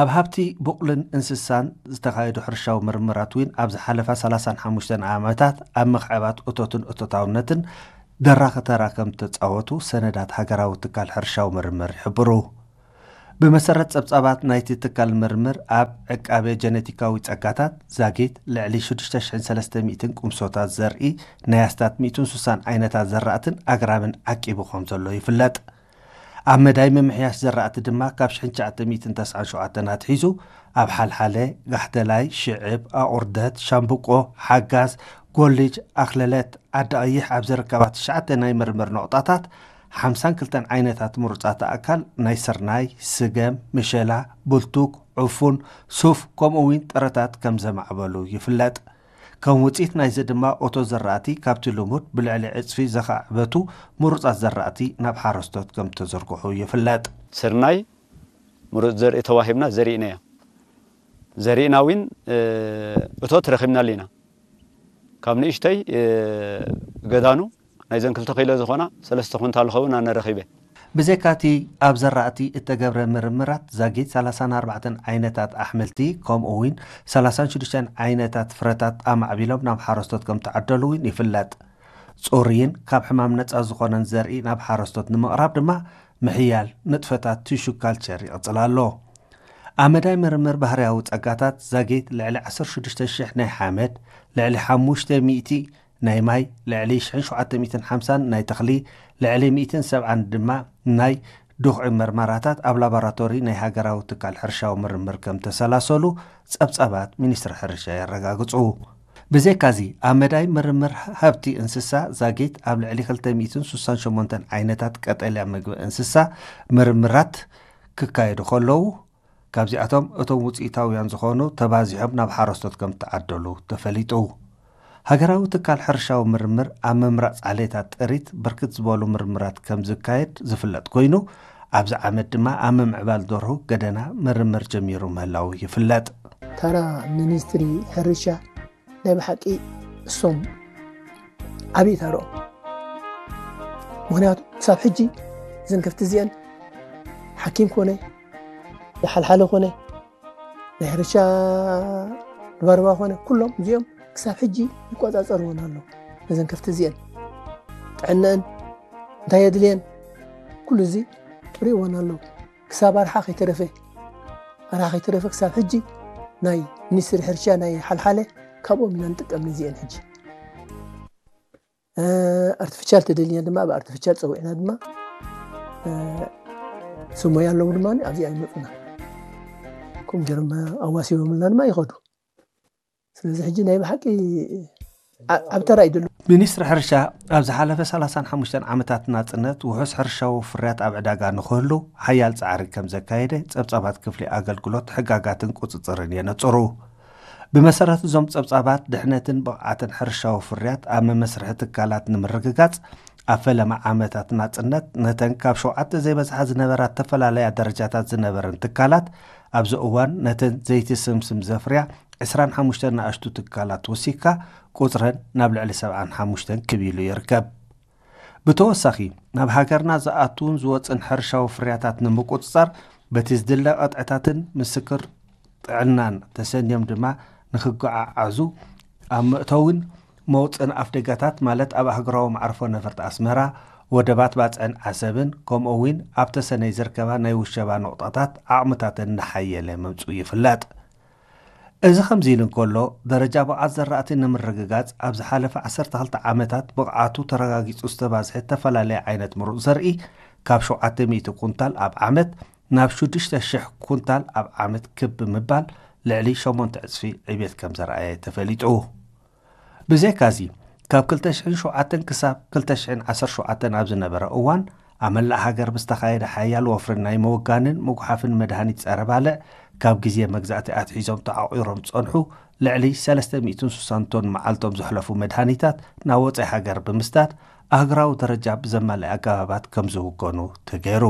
ኣብ ሃብቲ ቡቕልን እንስሳን ዝተኻየዱ ሕርሻዊ ምርምራት እውን ኣብ ዝሓለፋ ሰላሳን ሓሙሽተን ዓመታት ኣብ ምኽዕባት እቶትን እቶታውነትን ደራኺ ተራ ከም ተጻወቱ ሰነዳት ሃገራዊ ትካል ሕርሻዊ ምርምር ይሕብሩ። ብመሰረት ጸብጻባት ናይቲ ትካል ምርምር፣ ኣብ ዕቃበ ጀነቲካዊ ጸጋታት ዛጊት ልዕሊ ሽዱሽተ ሽሕን ሰለስተ ሚእትን ቁምሶታት ዘርኢ ናይ ኣስታት ሚእትን ሱሳን ዓይነታት ዘራእትን ኣግራብን ዓቂቡ ከም ዘሎ ይፍለጥ። ኣብ መዳይ ምምሕያሽ ዘራእቲ ድማ ካብ ሽሕን ትሽዓተ ሚእትን ተስዓን ሸውዓተን ኣትሒዙ ኣብ ሓልሓለ፣ ጋሕተላይ፣ ሽዕብ፣ ኣቑርደት፣ ሻምብቆ፣ ሓጋዝ፣ ጎልጅ፣ ኣኽለለት፣ ዓዲ ቀይሕ ኣብ ዝርከባ ትሽዓተ ናይ ምርምር ነቑጣታት ሓምሳን ክልተን ዓይነታት ምሩጻት ኣእካል ናይ ስርናይ፣ ስገም፣ ምሸላ፣ ብልቱክ፣ ዕፉን፣ ሱፍ ከምኡ እውን ጥረታት ከም ዘማዕበሉ ይፍለጥ። ከም ውጽኢት ናይዚ ድማ እቶ ዘራእቲ ካብቲ ልሙድ ብልዕሊ ዕጽፊ ዘኻዕበቱ ምሩጻት ዘራእቲ ናብ ሓረስቶት ከም ተዘርግሑ ይፍለጥ። ስርናይ ምሩጽ ዘርኢ ተዋሂብና ዘሪእናያ። ዘሪእና እውን እቶት ረኺብናሉ ኢና። ካብ ንእሽተይ ገዳኑ ናይዘን ክልተ ኪሎ ዝኾና ሰለስተ ኩንታል ዝኸውን ኣነ ረኺበ። ብዘይካቲ ኣብ ዘራእቲ እተገብረ ምርምራት ዛጊት ሰላሳን ኣርባዕተን ዓይነታት ኣሕምልቲ ከምኡ እውን ሰላሳን ሽዱሽተን ዓይነታት ፍረታት ኣማዕቢሎም ናብ ሓረስቶት ከም ተዓደሉ እውን ይፍለጥ። ጽሩይን ካብ ሕማም ነጻ ዝኾነን ዘርኢ ናብ ሓረስቶት ንምቕራብ ድማ ምሕያል ንጥፈታት ቲሹ ካልቸር ይቕጽል ኣሎ። ኣብ መዳይ ምርምር ባህርያዊ ጸጋታት ዛጊት ልዕሊ ዓሰርተ ሽዱሽተ ሽሕ ናይ ሓመድ፣ ልዕሊ ሓሙሽተ ሚእቲ ናይ ማይ፣ ልዕሊ ሽሕን ሸውዓተ ሚእትን ሓምሳን ናይ ተኽሊ፣ ልዕሊ ሚእትን ሰብዓን ድማ ናይ ድኹዒ መርመራታት ኣብ ላቦራቶሪ ናይ ሃገራዊ ትካል ሕርሻዊ ምርምር ከም ተሰላሰሉ ጸብጻባት ሚኒስትሪ ሕርሻ የረጋግጹ። ብዘይካዚ ኣብ መዳይ ምርምር ሃብቲ እንስሳ ዛጊት ኣብ ልዕሊ ክልተ ሚእትን ሱሳን ሸሞንተን ዓይነታት ቀጠልያ ምግቢ እንስሳ ምርምራት ክካየዱ ከለዉ፣ ካብዚኣቶም እቶም ውፅኢታውያን ዝኾኑ ተባዚሖም ናብ ሓረስቶት ከም ተዓደሉ ተፈሊጡ። ሃገራዊ ትካል ሕርሻዊ ምርምር ኣብ ምምራፅ ዓሌታት ጥሪት ብርክት ዝበሉ ምርምራት ከም ዝካየድ ዝፍለጥ ኮይኑ፣ ኣብዚ ዓመት ድማ ኣብ ምምዕባል ደርሁ ገደና ምርምር ጀሚሩ ምህላው ይፍለጥ። ተራ ሚኒስትሪ ሕርሻ ናይ ብሓቂ እሶም ዓብዪ ተርኦም። ምኽንያቱ ክሳብ ሕጂ እዘን ከፍቲ እዚአን ሓኪም ኮነ፣ ሓልሓለ ኮነ፣ ናይ ሕርሻ ድባርባ ኮነ፣ ኩሎም እዚኦም ክሳብ ሕጂ ይቆጻጸርዎን ኣለዉ። ነዘን ከፍቲ እዚአን ጥዕነአን እንታይ የድልየን፣ ኩሉ እዚ ርእዎን ኣለዉ። ክሳብ ኣርሓ ከይተረፈ ኣርሓ ከይተረፈ ክሳብ ሕጂ ናይ ሚኒስትሪ ሕርሻ ናይ ሓልሓለ ካብኦም ኢና ንጥቀም። ነዚአን ሕጂ ኣርቲፊሻል ተደልየን ድማ ብ ኣርቲፊሻል ፀዊዕና ድማ ስሞይ ኣለዉ ድማ ኣብዚኣ ይመፁና። ከምኡ ገይሮም ኣዋሲቦምልና ድማ ይኸዱ። ስለዚ ሕጂ ናይ ብሓቂ ዓብ ተራ እዩ ዘሎ። ሚኒስትሪ ሕርሻ ኣብ ዝሓለፈ ሰላሳን ሓሙሽተን ዓመታት ናፅነት ውሑስ ሕርሻዊ ፍርያት ኣብ ዕዳጋ ንክህሉ ሓያል ፃዕሪ ከም ዘካየደ ፀብፃባት ክፍሊ ኣገልግሎት ሕጋጋትን ቁፅፅርን የነፅሩ። ብመሰረት እዞም ፀብፃባት ድሕነትን ብቕዓትን ሕርሻዊ ፍርያት ኣብ መመስርሒ ትካላት ንምርግጋፅ ኣብ ፈለማ ዓመታት ናፅነት ነተን ካብ ሸውዓተ ዘይበዝሓ ዝነበራ ተፈላለያ ደረጃታት ዝነበረን ትካላት ኣብዚ እዋን ነተን ዘይቲ ስምስም ዘፍርያ ዕስራን ሓሙሽተን ንኣሽቱ ትካላት ወሲካ ቁፅረን ናብ ልዕሊ ሰብዓን ሓሙሽተን ክብ ኢሉ ይርከብ። ብተወሳኺ ናብ ሃገርና ዝኣትውን ዝወፅን ሕርሻዊ ፍርያታት ንምቁፅፃር በቲ ዝድለ ቅጥዕታትን ምስክር ጥዕናን ተሰንዮም ድማ ንክጎዓዓዙ ኣብ መእተውን መውፅእን ኣፍደጋታት ማለት ኣብ ኣህጉራዊ መዓርፎ ነፈርቲ ኣስመራ፣ ወደባት ባፅዕን ዓሰብን ከምኡ እውን ኣብ ተሰነይ ዝርከባ ናይ ውሸባ ነቑጣታት ዓቕምታተን እናሓየለ ምምፅኡ ይፍለጥ። እዚ ከምዚ ኢሉ እንከሎ፣ ደረጃ ብቕዓት ዘራእቲ ንምርግጋፅ ኣብ ዝሓለፈ ዓሰርተ ክልተ ዓመታት ብቕዓቱ ተረጋጊፁ ዝተባዝሐ ዝተፈላለየ ዓይነት ምሩፅ ዘርኢ ካብ ሸውዓተ ሚእቲ ኩንታል ኣብ ዓመት ናብ ሽዱሽተ ሽሕ ኩንታል ኣብ ዓመት ክብ ብምባል ልዕሊ ሸሞንተ ዕፅፊ ዕቤት ከም ዘርኣየ ተፈሊጡ። ብዘይካዚ፣ ካብ ክልተ ሽሕን ሸውዓተን ክሳብ ክልተ ሽሕን ዓሰርተ ሸውዓተን ኣብ ዝነበረ እዋን ኣብ መላእ ሃገር ብዝተኻየደ ሓያል ወፍሪ ናይ ምውጋንን ምጉሓፍን መድሃኒት ጸረ ባልዕ ካብ ግዜ መግዛእቲ ኣትሒዞም ተዓቑሮም ዝጸንሑ ልዕሊ ሰለስተ ሚእትን ሱሳን ቶን መዓልቶም ዘሕለፉ መድሃኒታት ናብ ወጻኢ ሃገር ብምስዳድ ኣህጉራዊ ደረጃ ብዘማልእ ኣገባባት ከም ዝውገኑ ተገይሩ።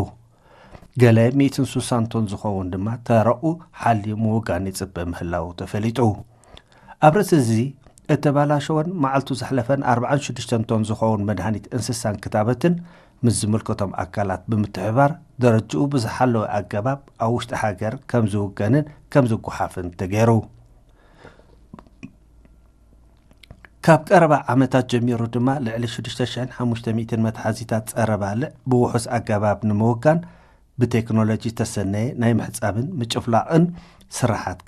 ገለ ሚእትን ሱሳን ቶን ዝኸውን ድማ ተረኡ ሓልዩ ምውጋን ይጽበ ምህላዉ ተፈሊጡ። ኣብ ርእሲ እዚ እተባላሸወን መዓልቱ ዘሕለፈን ኣርብዓን ሽዱሽተን ቶን ዝኸውን መድሃኒት እንስሳን ክታበትን ምስ ዝምልከቶም ኣካላት ብምትሕባር ደረጅኡ ብዝሓለወ ኣገባብ ኣብ ውሽጢ ሃገር ከም ዝውገንን ከም ዝጓሓፍን ተገይሩ። ካብ ቀረባ ዓመታት ጀሚሩ ድማ ልዕሊ ሽዱሽተ ሽሕን ሓሙሽተ ሚእትን መትሓዚታት ጸረ ባልዕ ብውሑስ ኣገባብ ንምውጋን ብቴክኖሎጂ ዝተሰነየ ናይ ምሕጻብን ምጭፍላቕን ስራሓት